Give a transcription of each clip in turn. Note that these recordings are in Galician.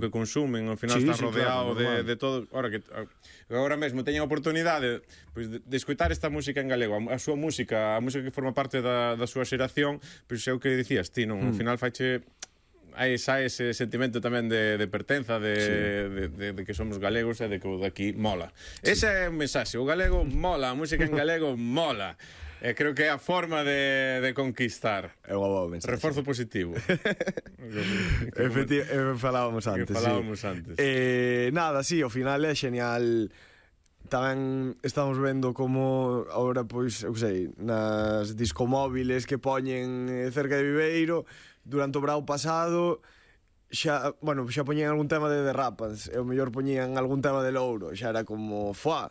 que consumen, ao final está rodeado de todo. Agora mesmo teñen a oportunidade de escoitar esta música en galego, a súa música, a música que forma parte da súa xeración, pois é o que dicías ti, non? Ao final faiche xa ese sentimento tamén de pertenza, de que somos galegos e de que o daqui mola. Ese é o mensaxe, o galego mola, a música en galego mola. Creo que é a forma de conquistar. É unha boa mensaxe. Reforzo positivo. Falábamos antes. Nada, sí, ao final é genial. Tamén estamos vendo como agora, pois, eu sei, nas discomóviles que poñen cerca de Viveiro, durante o verao pasado xa poñían algún tema de Derrapas, e o mellor poñían algún tema de Louro, xa era como, fuá,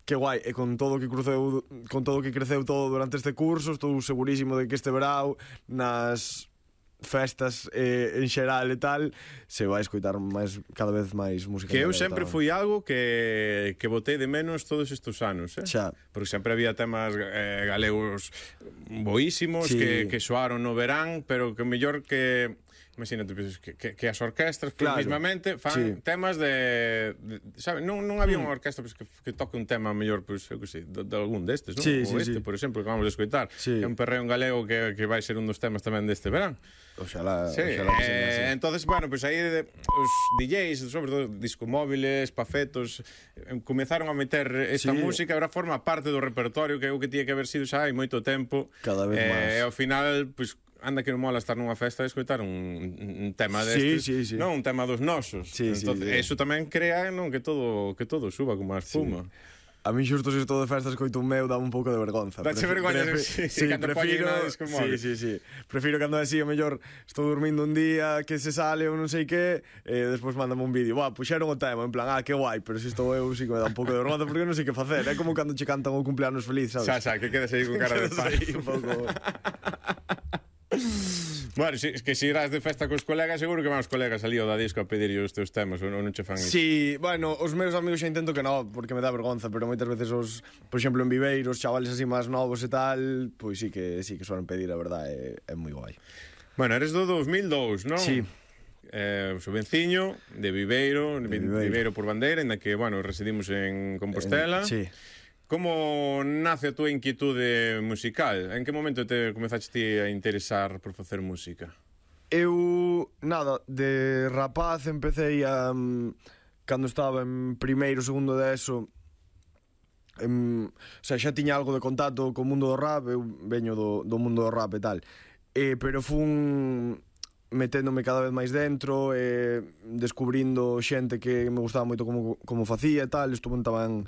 que guai, e con todo o que creceu todo durante este curso, estou segurísimo de que este verao nas festas en xeral e tal se vai escoitar cada vez máis música. Que eu sempre fui algo que botei de menos todos estes anos, xa. Porque sempre había temas galegos boísimos, sí, que soaron no verán, pero que mellor que imagínate, que as orquestras, claro, mismamente fan, sí, temas sabe, non había unha orquestra que toque un tema mellor, pois, eu que sei, de algún destes, non? Sí, ou sí. por exemplo, que vamos a escoitar, sí, é un perreo en galego que vai ser un dos temas tamén deste verán. Oxalá, sí, entonces, bueno, pues aí os DJs, sobre todo discomóviles, pafetos, comezaron a meter esta música, agora forma parte do repertorio, que é o que tiña que haber sido xa hai moito tempo. Cada vez máis. E ao final, pues, anda que non mola estar nunha festa e escoitar un tema destes, sí. non un tema dos nosos. Entonces, eso tamén crea, non, que todo suba como a espuma. Sí. A mí xusto se estou de festa escoito un meu, dá un pouco de vergonza. Dache vergonza, prefiro, sí. Prefiro cando así, o mellor estou dormindo un día que se sale ou non sei que, despois mándame un vídeo, puxeron o tema, en plan, que guai, pero se estou eu sí que me dá un pouco de vergonza porque non sei que facer, é como cando che cantan o cumpleanos feliz, sabes? Xa, que quedas aí con cara de pai. Un pouco. Bueno, es que se irás de festa cos colegas, seguro que van os colegas ali ao da disco a pedirlle os teus temas, ou non che fan iso? Sí, bueno, os meus amigos xa intento que non, porque me dá vergonza, pero moitas veces por exemplo, en Viveiro, os chavales así máis novos e tal, pois sí que suelen pedir, a verdade, é moi guai. Bueno, eres do 2002, non? Sí. Sobenciño, de Viveiro por Bandeira, en que, bueno, residimos en Compostela. Sí. Como nace a túa inquietude musical? En que momento te comezaste ti a interesar por facer música? Eu, de rapaz empecé cando estaba en primeiro, segundo de ESO, o sea, xa tiña algo de contacto co mundo do rap, eu veño do mundo do rap e tal, pero fun meténdome cada vez máis dentro, descubrindo xente que me gustaba moito como facía e tal, estuve tamén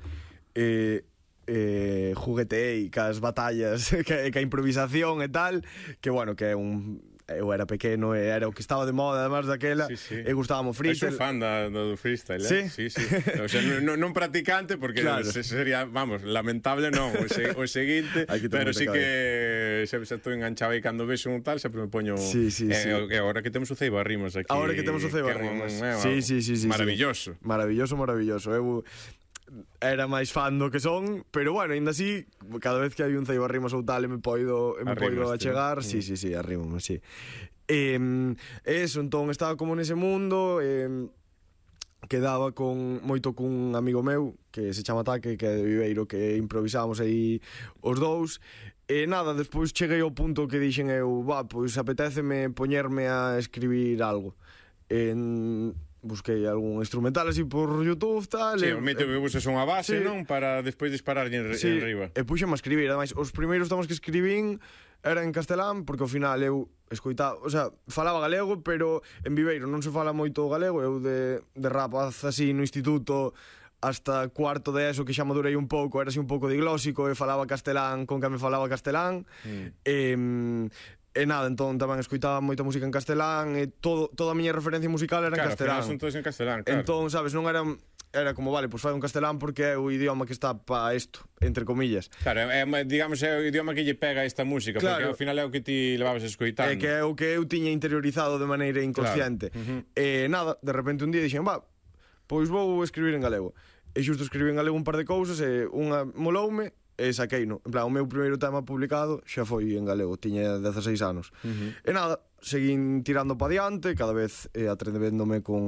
jugueteei cas batallas que a improvisación e tal, que bueno, que é eu era pequeno e era o que estaba de moda además daquela, e gustábamos freestyle. Eu sou fan do freestyle, Sí? Sí. O sea, non practicante, porque claro, sería, vamos, lamentable non, o seguinte, pero sí que xa estou enganchado aí cando vexo un tal, sempre me poño. Sí. E agora que temos o Ceibarrimos aquí. Agora que temos o Ceibarrimos. Sí. Maravilloso. Maravilloso. Eu era máis fan do que son, pero bueno, ainda así, cada vez que hai un Ceibarrimos ou tal, me poido achegar, sí, arrímome, sí. Eso, entón, estaba como nese mundo, quedaba moito cun amigo meu, que se chama Taque, que é de Viveiro, que improvisábamos aí os dous, e nada, despois cheguei ao punto que dixen eu, pois apetéceme poñerme a escribir algo. Busquei algún instrumental así por YouTube, tal. Sí, o mito que busques unha base, non? Para despois dispararlle en riba. E puxeme a escribir, ademais, os primeiros temas que escribín era en castelán, porque ao final eu escoitaba, o sea, falaba galego, pero en Viveiro non se fala moito galego, eu de rapaz así no instituto hasta cuarto de ESO, que xa madurei un pouco, era así un pouco diglósico e falaba castelán con que me falaba castelán. E nada, entón tamén escoitaba moita música en castelán e toda a miña referencia musical era en castelán. Claro, son todos en castelán, claro. Entón, sabes, non era como, vale, pois fai un castelán porque é o idioma que está pa isto, entre comillas. Claro, digamos, é o idioma que lle pega esta música, claro, porque ao final é o que ti levabas escoitando. É que é o que eu tiña interiorizado de maneira inconsciente. Claro. E nada, de repente un día dixen, pois vou escribir en galego. E xusto escribí en galego un par de cousas e unha moloume, e saqueino. En plan, o meu primeiro tema publicado xa foi en galego, tiña 16 anos. E nada, seguín tirando pa diante, cada vez atrevéndome con